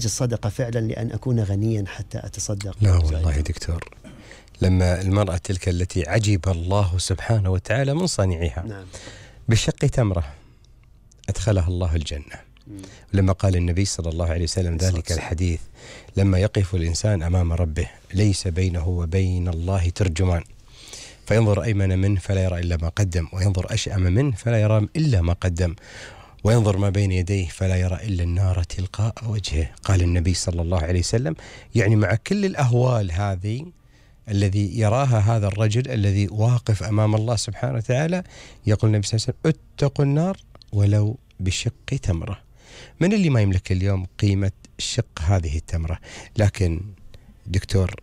الصدقة فعلا لأن أكون غنيا حتى أتصدق؟ لا والله يا دكتور، لما المرأة تلك التي عجب الله سبحانه وتعالى من صنيعها، نعم، بشق تمرة أدخلها الله الجنة. لما قال النبي صلى الله عليه وسلم ذلك الحديث: لما يقف الإنسان أمام ربه ليس بينه وبين الله ترجمان، فينظر أيمن منه فلا يرى إلا ما قدم، وينظر أشأم منه فلا يرى إلا ما قدم، وينظر ما بين يديه فلا يرى إلا النار تلقاء وجهه. قال النبي صلى الله عليه وسلم يعني مع كل الأهوال هذه الذي يراها هذا الرجل الذي واقف أمام الله سبحانه وتعالى، يقول النبي صلى الله عليه وسلم: اتقوا النار ولو بشق تمرة. من اللي ما يملك اليوم قيمة شق هذه التمرة؟ لكن دكتور،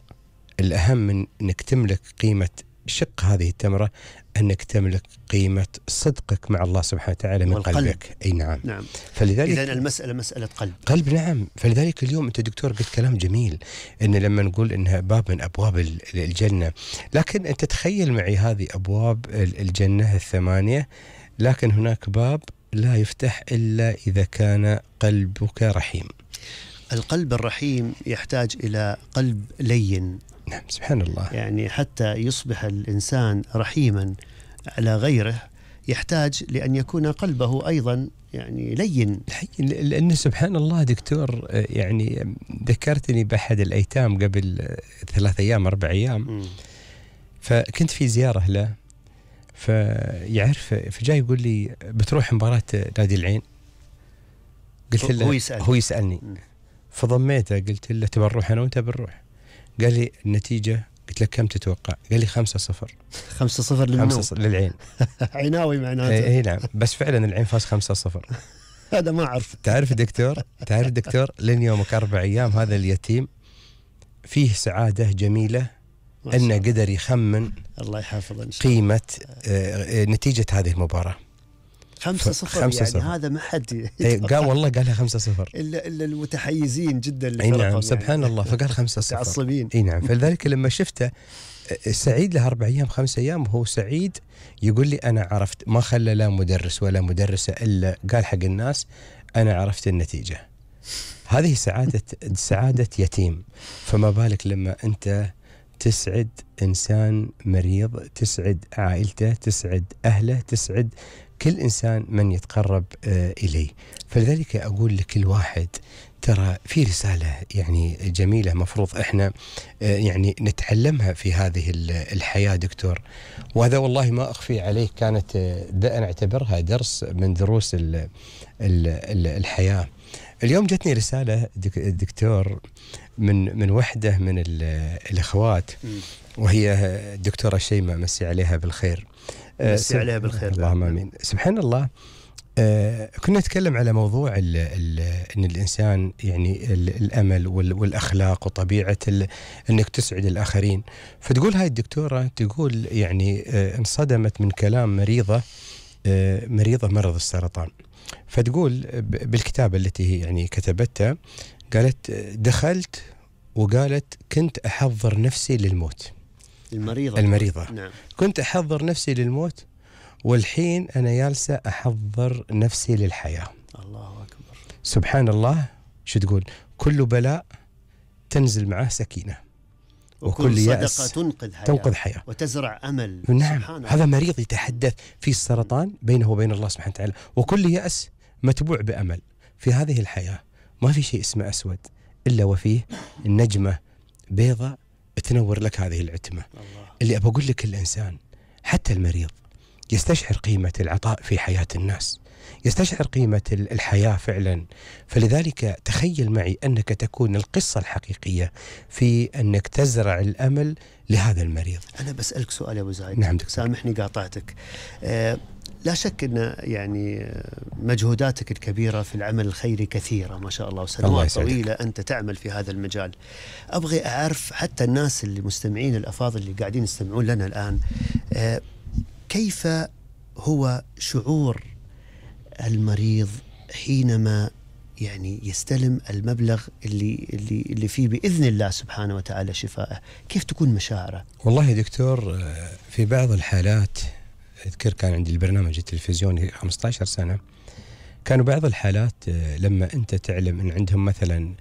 الأهم من أنك تملك قيمة شق هذه التمرة أنك تملك قيمة صدقك مع الله سبحانه وتعالى من قلبك. أي نعم. نعم. فلذلك إذن المسألة مسألة قلب. نعم. فلذلك اليوم أنت دكتور قلت كلام جميل، إن لما نقول إنها باب من أبواب الجنة، لكن أنت تخيل معي هذه أبواب الجنة الثمانية، لكن هناك باب لا يفتح إلا إذا كان قلبك رحيم. القلب الرحيم يحتاج إلى قلب لين. نعم، سبحان الله. يعني حتى يصبح الإنسان رحيما على غيره يحتاج لأن يكون قلبه أيضا يعني لين. لأن سبحان الله دكتور، يعني ذكرتني بأحد الأيتام قبل 3 أيام 4 أيام، فكنت في زيارة له، فيعرف فجاي يقول لي: بتروح مباراة نادي العين؟ قلت له هو يسألني فضميته، قلت له: تبى نروح أنا وأنت؟ بنروح. قال لي: النتيجة؟ قلت له: كم تتوقع؟ قال لي: 5-0. 5-0 للعين. عيناوي معناته. اي نعم، بس فعلا العين فاز 5-0. هذا ما أعرف. تعرف دكتور لين يومك 4 أيام هذا اليتيم فيه سعادة جميلة أنه قدر يخمن الله يحافظه قيمة نتيجة هذه المباراة. 5-0 يعني هذا ما حد قال والله قالها 5-0 إلا المتحيزين جدا لفرقهم. نعم، سبحان الله. فقال 5-0 متعصبين. اي نعم. فلذلك لما شفته سعيد له 4 أيام 5 أيام وهو سعيد، يقول لي: أنا عرفت، ما خلى لا مدرس ولا مدرسة إلا قال حق الناس: أنا عرفت النتيجة. هذه سعادة يتيم، فما بالك لما أنت تسعد إنسان مريض، تسعد عائلته، تسعد أهله، تسعد كل إنسان من يتقرب إليه. فلذلك أقول لكل واحد: ترى في رسالة يعني جميلة مفروض إحنا يعني نتعلمها في هذه الحياة دكتور، وهذا والله ما أخفي عليك كانت أنا أعتبرها درس من دروس الحياة. اليوم جتني رسالة دكتور من وحدة من الأخوات، وهي الدكتورة شيماء، مسي عليها بالخير. مسي عليها بالخير. اللهم آمين. سبحان الله. كنا نتكلم على موضوع أن الإنسان يعني الأمل والأخلاق وطبيعة أنك تسعد الآخرين. فتقول هاي الدكتورة، تقول يعني انصدمت من كلام مريضة مرض السرطان. فتقول بالكتابة التي هي يعني كتبتها، قالت: دخلت وقالت كنت أحضر نفسي للموت. المريضة. نعم. كنت أحضر نفسي للموت، والحين أنا جالسة أحضر نفسي للحياة. الله أكبر. سبحان الله. شو تقول؟ كل بلاء تنزل معه سكينة، وكل يأس تنقذ حياة وتزرع أمل. نعم. هذا مريض يتحدث في السرطان بينه وبين الله سبحانه وتعالى، وكل يأس متبوع بأمل. في هذه الحياة ما في شيء اسمه أسود إلا وفيه النجمة بيضاء تنور لك هذه العتمة. اللي أبى أقول لك، الإنسان حتى المريض يستشعر قيمة العطاء في حياة الناس، يستشعر قيمة الحياة فعلا. فلذلك تخيل معي أنك تكون القصة الحقيقية في أنك تزرع الأمل لهذا المريض. أنا بسألك سؤال يا أبو زايد. نعم. سامحني قاطعتك. لا شك أن يعني مجهوداتك الكبيرة في العمل الخيري كثيرة ما شاء الله، وسنوات طويلة أنت تعمل في هذا المجال. أبغي أعرف حتى الناس اللي مستمعين الأفاضل اللي قاعدين يستمعون لنا الآن، كيف هو شعور المريض حينما يعني يستلم المبلغ اللي فيه بإذن الله سبحانه وتعالى شفائه؟ كيف تكون مشاعره؟ والله يا دكتور، في بعض الحالات أذكر كان عندي البرنامج التلفزيوني 15 سنة، كانوا بعض الحالات لما أنت تعلم أن عندهم مثلا